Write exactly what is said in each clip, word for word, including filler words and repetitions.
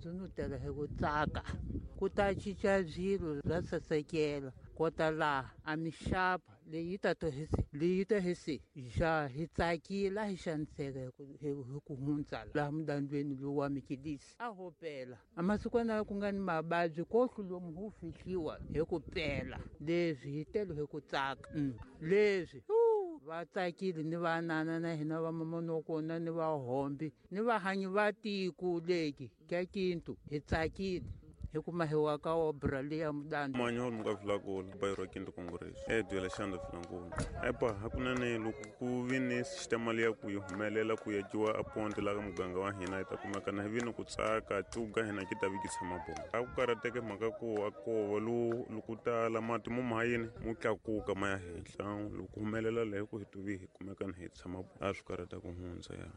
Mudandzu no tela hi ku tsaka ku ta cinca swilo swa sasekela kota laha a mixapa leyi ta to hi leyi ta hi se ja hi tsakile a hi xaniseka hi ku hi ku hundza laha mudandweni lowu wa mikidisi a ho pela a masikwana ku nga ni mavabyi ko hlulomu hu fihliwa hi ku pela leswi hi tele hi ku tsaka leswi va tsakile ni vanana na hina va mamonokona ni vahombi ni vahanyi va tiko leki ka Kintu hi tsakile hi kuma hi wa ka obra leya mudandzu manyo muka Vilankulu bayiro Kintu Congress e duela xanda Vilankulu epa hakunene loko ku vi ni sistema leya ku yi humelela ku yakiwa a ponti la ka muganga wa hina hi ta kumeka na hi vi ni ku tsaka tuga hina ki ta vi ki tshama bona a ku karhateke mhaka ku a kova lowu loko tala mati mo mahayini mo tlakuka ma ya henhla loko humelela leyi ku hi tuvi hi kumeka na hi tshama a swi karhata ku hundza ya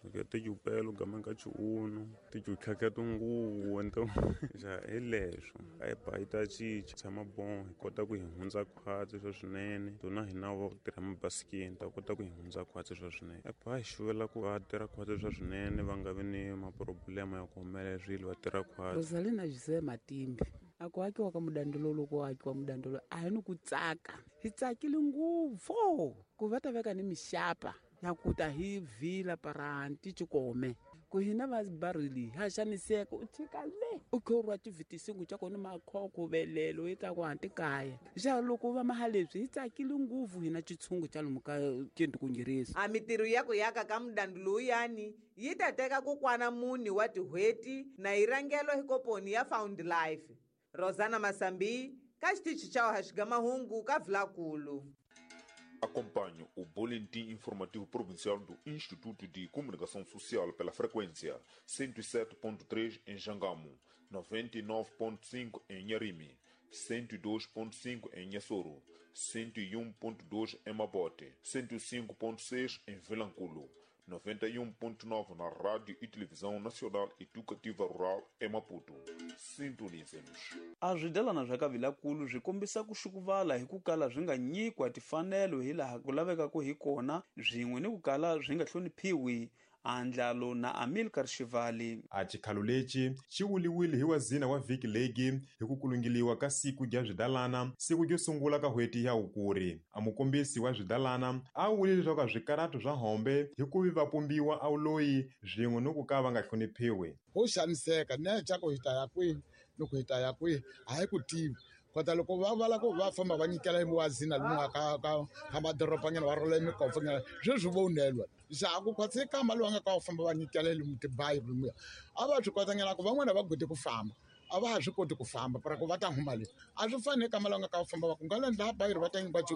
ke tijupelo gamanga chiuno tijutlhaka tinguvu nto ja hi leswo epa yi ta cinca tshama bon hi kota ku hi hundza khwatsi swa swinene tona hina va tirha mabasikeni ta kota ku hi hundza khwatsi swa swinene epa hi xuvela ku va tirha khwatsi swa swinene va nga vi ni maproblema ya ku humelela swilo va tirha khwatsi. Rosalina Jose Matimbi a ku akiwa ka mudandzu lowu loko akiwa mudandzu lowu a hi ni ku tsaka hi tsakile ngopfu ku va ta veka ni mixapa ya ku ta hi vhila paranti chikome ku hina va barili ha xaniseka u tshika le u khorwa tivhitisingu xa kona makhokho velelo yi ta ku hanti kaya xa loko va maha leswi hi tsakile ngopfu hina xitshungu xa lomu ka Kintu Congress. A mitirho ya ku yaka ka mudandzu lowuyani yi ta teka kokwana mune wa tin'hweti na yi rhangelo hi komponi ya Found Life. Rosana Masambi ka xitichi xa Haxigamahungu ka Vilankulu. Acompanhe o Boletim Informativo Provincial do Instituto de Comunicação Social pela frequência cento e sete ponto três em Jangamo, noventa e nove ponto cinco em Nharime, cento e dois ponto cinco em Inhassoro, cento e um ponto dois em Mabote, cento e cinco ponto seis em Vilankulo, noventa e um ponto nove na Rádio e Televisão Nacional Educativa Rural em Maputo. Sintonizem-nos. A swidelana swa ka Vilankulu swi kombisa ku xukuvala hi ku kala swi nga nyikiwa timfanelo hi laha ku lavekaka hi kona swin'we ni ku kala swi nga hloniphiwi. Andlalo na Amilcar Shivali. A xikhalo lexi xi vuliwile hi wazina wa vhiki legi hi ku kulungiliwa ka siku rya swidalana siku ryo sungula ka n'hweti ya Hukuri. A mukombisi wa swidalana a wule leswaku swikarato swa hombe hi ku vi va pumbiwa a wuloyi swin'we ni ku ka va nga hloniphiwi. Ho xaniseka ne xa ku hi ta ya kwihi loko hi ta ya kwihi a hi ku tivi kota loko va vala ku va famba va nyikela wazina lomu ka ka ka madorobanyana va rhola mikovonyana sweswi vo unelwa xa ku khwatsi kamba lowu nga ka va famba va nyikela lomu tibayi lomuya a va swi kotanyana ku van'wana va gode ku famba a va ha swi koti ku famba para ku va ta huma le a swi fani kamba lowu nga ka va famba va ku nga le ndla bayi va ta nyikiwa cu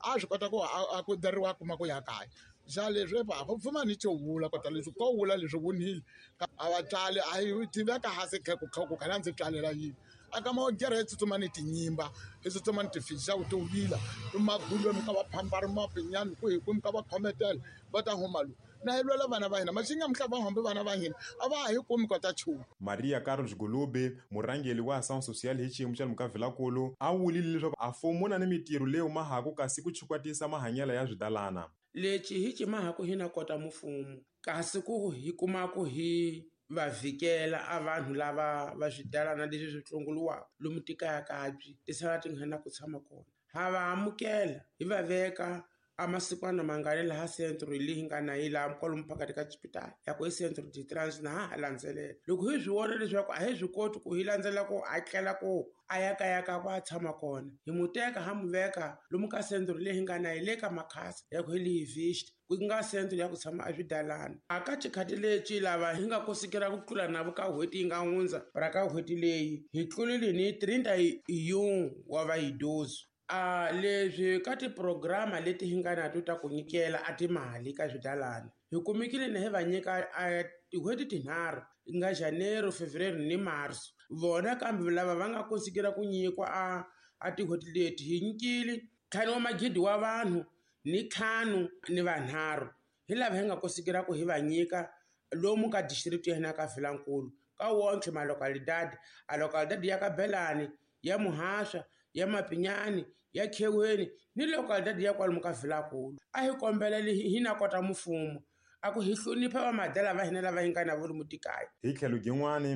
a swi kota ku a ku dariwa kuma ku ya kaya xa leswi va ku pfuma ni xo vula kota leswi ko vula leswi vunile a va tswali a yi tiveka hansi kha ku kha ku khala ndzi tswalela yini a ka ma gere tsutsuma ni tinyimba hi tsutsuma ni tifisa ku tivila magulu mi ka va phambari mapinyani ku hi ku mi ka va khometela va ta huma lo na hi lwela vana va hina maxinga mihla va hombe vana va hina a va ha hi kumi kota chumu. Maria Carlos Gulube murhangeri wa Ação Social hi xiyimo xa lomu ka Vilankulu a wulile leswaku a mfumo na ni mitirho leyi mahaku kasi ku chukwatisa mahanyelo ya swidalana lexi hi cimahaku hina kota mfumo kasi ku hi kumaku hi va vhikela a vanhu lava va swidalana leswi swi tlongoliwaka lomu tikaya kabyi ti sala ti nga na ku tshama kona ha va amukela hi va veka a masikwana mangani laha centro leyi nga na yi laha kwalomu phakati ka xipitali ya ku i centro de trans na ha ha landzelela loko hi swi vona leswaku a hi swi koti ku hi landzela ku a tlela ku a ya kaya ka ku a tshama kona hi mu teka ha mu veka lomu ka centro leyi nga na yi le ka makhasa ya ku hi leyi vista ku nga centro ya ku tshama a swidalana a ka xikhati lexi lava hi nga kosikela ku tlula navo ka n'hweti yi nga hundza ra ka n'hweti leyi hi tlulile ni trinta yin'we wa vayidozi a leswi ka tiprograma leti hi nga na to ta ku nyikela a timali ka swidalana hi kumekile na hi va nyika a tin'hweti tinharhu nga Janeiro, Fevereiro ni Marso vona kambe lava va nga kosikela ku nyikwa a a tin'hweti leti hi nyikile ntlhanu wa magidi wa vanhu ni ntlhanu ni vanharhu hi lava hi nga kosikela ku hi va nyika lomu ka district ya hina ka Vilankulu ka wonke ma localidade a localidade ya ka Belani ya Muhasha ya Mapinyani ya Kheweni ni localidade ya kwalomu ka Vilankulu a hi kombela hi na kota mfumo a ku hi hlonipha vamadala va hina lava hi nga na vo lomu tikaya. Hi tlhelo rin'wani